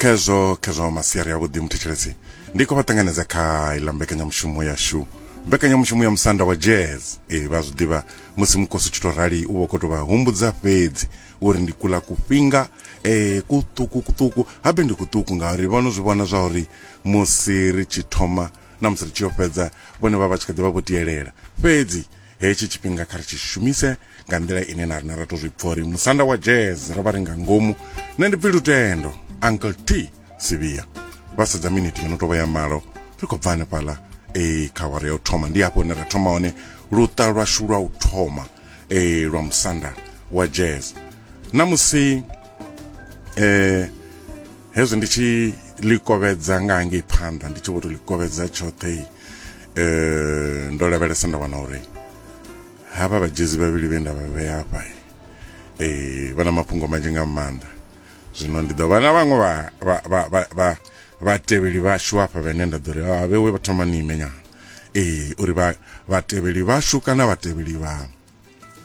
Khezwo khezwo masiari avhuḓi muthetshelesi ndi khou vha ṱanganedza kha iḽa mbekanyamushumo yashu mbekanyamushumo ya musanda wa jazz ee vha zwi ḓivha musi mukosi u tshi tou rali u vha u khou tou vha humbudza fhedzi uri ndi kula kufhinga eh kuṱuku kuṱuku habe ndi kuṱuku ngauri vho no zwi vhona zwa uri musi ri tshi thoma na musi ri tshi yo fhedza vhone vha vha tshi kha ḓi vha vho tielela fhedzi hetshi tshifhinga kha ri tshi shumise nga nḓila ine na rine ra to zwi pfa uri musanda wa jazz ro vha ri nga ngomu nṋe ndi pfi lutendo uncle t sivia vha sedza miniti yo no tovha ya malo ri khou bva hanefhaḽa e kha awara ya u thoma ndi hafho hune ra thoma hone luṱa lwashu lwa u thoma e lwa musanda wa jazz na musi eh hezwi ndi tshi ḽi kovhedza nga hangei phanḓa ndi tshi vho to ḽi kovhedza tshoṱhe eh ndo lavhelesa nda wana uri havha vhadzhezi vhavhili vhe nda vha vhea hafha eh vha na mafhungo manzhi nga maanḓa zwino ndi ḓo vha na vhaṅwe vha vha vha vha vha vhatevheli vhashu hafha vhene nda ḓo ri a vhewe vha thoma ni ime nyana ee uri vha vhatevheli vhashu kana vhatevheli vha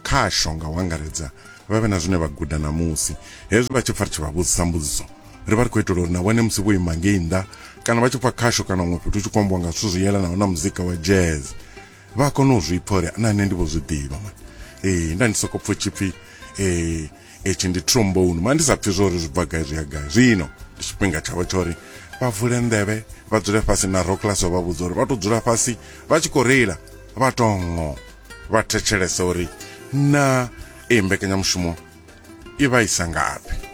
khasho nga u angaredza vha vhe na zwine vha guda ṋamusi hezwi vha tshi pfa ri tshi vha vhudzisa mbudziso ri vha ri khou itela uri na vhone musi vho ima ngei nnḓa kana vha tshi pfa khasho kana huṅwe fhethu hu tshi khou ambiwa nga zwithu zwi yelanaho na muzika wa jazz vha kone u zwi pfa uri na nṋe ndi vho zwi ḓivha mani ee nda ndi soko pfa tshipfi ee etshi ndi trombone mani ndi sa pfi zwo uri zwi bva gai zwi ya gai zwino ndi tshifhinga tshavho tsha uri vha vule nḓevhe vha dzule fhasi na roclas vha vhudza uri vha to dzula fhasi vha tshi khou reila vha tongo vha thetshelesa uri na ee mbekanyamushumo i vha isa ngafhi.